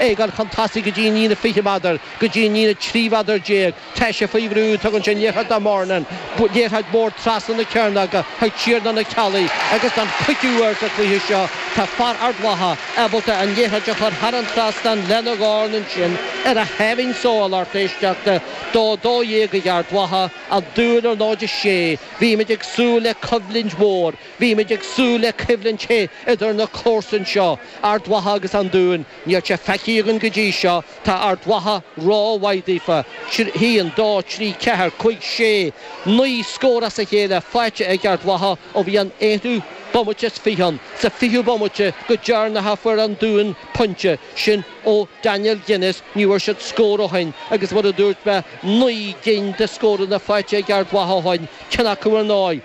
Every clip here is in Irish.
É ag dul chun tosaigh go dtí an líne 20 méadar, go dtí an líne 13 mhéadar. Tá sé faoi bhrú, tugann sé an liathróid do Murnin. Liathróid mhór trasna na cearnóige chuig Tiarnán Ó Ceallaigh agus don chúigiú huair sa chluiche seo tá fear Ard Mhacha ábalta an liathróid a chur thar an trasnán lena dhorn ansin ar a sháimhín só, a lucht éisteachta. 2, 12 ag Ard Mhacha, An Dún ar 0, 6. Bhímid ag súil le coimhlint mhór. Bhímid ag súil le coimhlint the idir na comharsain seo, Ard Mhacha agus An Dún. Níl sé feicthe againn go dtí seo. Tá Ard Mhacha rómhaith daofa. 1, 2, 3, 4, 5, 6, 9 scór as a chéile faighte ag Ard Mhacha ó bhí an aonú bomaite is 20 ann. Sa 20ú bomaite go deireanach a fuair An Dún pointe, sin ó Daniel Guinness. Ní bhfuair siad scór ó shin agus mar a dúirt mé, 9 gcinn de scóranna faighte ag Ard Mhacha ó shin, ceann acu ar ndóigh.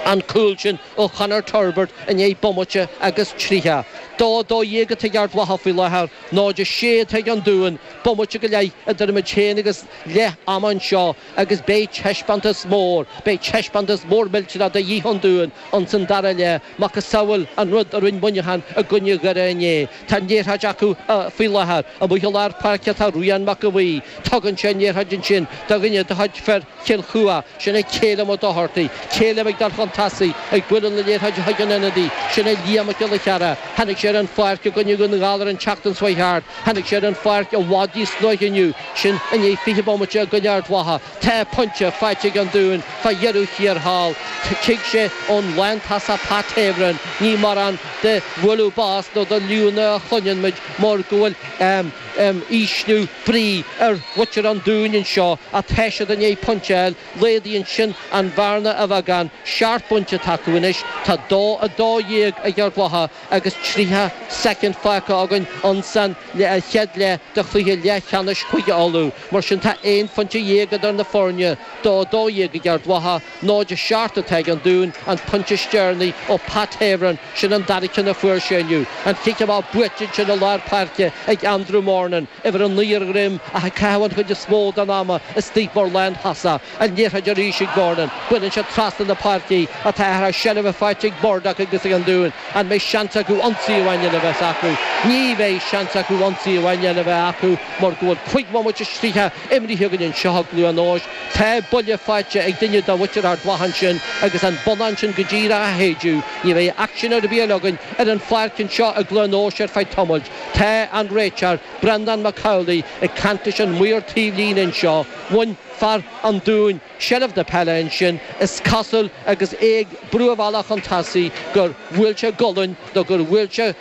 an cúl sin ó Chonor Turbitt i ndiaidh bomaite agus 30. 2, 12 atá ag Ard Mhacha faoi láthair, 0, 6 atá ag an Dún. Bomaite go leith idir muid féin agus leath ama anseo agus beidh taispeántas mór, beidh taispeántas mór millteanach de dhíth ón Dún ins an dara leath, macasamhail an rud a rinne Muineachán i gcoinne Dhoire inné. Tá an liathróid acu faoi láthair. Amuigh i lár páirce tá Rian Mac a' Bhuí. Tugann sé an liathróid ansin do dhuine de chuid fir Chill Chua, sin é Calum Ó Dochartaigh. Calum ag dul chun tosaigh, ag bualadh na liathróide chuig an ionadaí, sin é Liam Mac Giolla Chearra. Tháinig sé ar an pháirc i gcoinne Dhún na nGall ar an tseachtain seo thart. Tháinig sé ar an pháirc i bhfad níos luaithe inniu, sin i ndiaidh 20 bomaite i gcoinne Ard Mhacha. Tá pointe faighte ag an Dún fá dheireadh thiar thall. Tig sé ón lántosach Pat Heverin. Ní mórán de bhualadh bos nó de liúnna a chluineann muid mar go bhfuil ísliú brí ar mhuintir an Dúin anseo ach tá siad i ndiaidh pointe a fháil. Laghdaíonn sin an bhearna a bheagán. 7 bpointe atá acu anois. Tá 2, 12 ag Ard Mhacha agus 30 soicind fágtha againn ins an chéad leath de chluiche leathcheannais Chúige Uladh. Mar sin tá aon phointe dhéag idir na foirne. 2, 12 ag Ard Mhacha, 0, 7 atá ag an Dún, an pointe is deireanaí ó Pat Heverin. Sin an dara ceann a fuair sé inniu. An cic amach buaite ansin i lár páirce ag Andrew Murnin, uimhir 9 ar a dhroim ach ag caitheamh an chuid is mó den ama istigh mar lántosach. An liathróid arís ag Murnin. Buaileann sé trasna na páirce í ach tá athrá seilbhe faighte ag Murdock agus ag an Dún. An mbeidh seans acu ionsaí amháin eile a bheith acu? Ní bheidh seans acu ionsaí amháin eile a bheith acu mar go bhfuil 5 bhomaite is 30 imrithe againn anseo i gCluain Eois. Tá buille faighte ag duine de mhuintir Ard Mhacha ansin agus an bonnán sin go díreach á shéideadh. Ní bheidh aicsean ar bith eile againn ar an pháirc anseo i gCluain Eois ar feadh tamaill. Tá an réiteoir, Breandán Mac Amhlaigh, ag caint leis an maor taobhlíne anseo. Bhain fear an Dúin seilbh na peile ansin, is cosúil, agus é ag brú a bhealach chun tosaigh, gur bhuail sé gualainn nó gur bhuail sé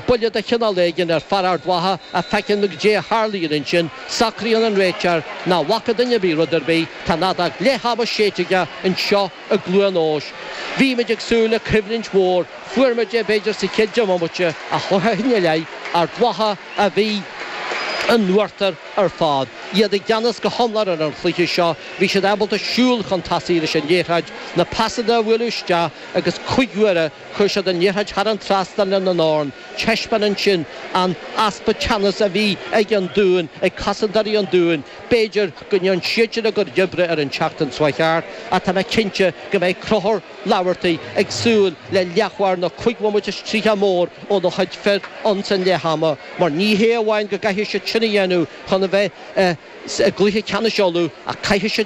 buille de chineál éigin ar fear Ard Mhacha ach feicfidh muid goidé a tharlaíonn ansin. Socraíonn an réiteoir nach bhfaca duine ar bith rud ar bith. Tá an fheadóg leath ama séidte aige anseo i gCluain Eois. Bhí muid ag súil le coimhlint mhór. Fuair muid é b'fhéidir sa chéad deich mbomaite ach ó shin i leith, Ard Mhacha a bhí in uachtar ar fad. Iad i gceannas go hiomlán ar an chluiche seo. Bhí siad ábalta siúl chun tosaigh leis an liathróid, na pasanna a bhualadh isteach agus cúig huaire Chuir siad an liathróid thar an trasnán lena ndorn. Taispeánann sin an easpa teannas a bhí ag an Dún, ag cosantóirí an Dúin. B'fhéidir go ndéanfaidh siadsan a gcuid oibre ar an tseachtain seo thart, ach tá mé cinnte go mbeidh Conchúr Laverty ag súil le leathuair nó cúig bhomaite is 30 mór óna chuid fir ins an leath ama, mar ní hé amháin go gcaithfidh siad sin a dhéanamh chun a bheith i gcluiche ceannais Uladh, ach caithfidh siad.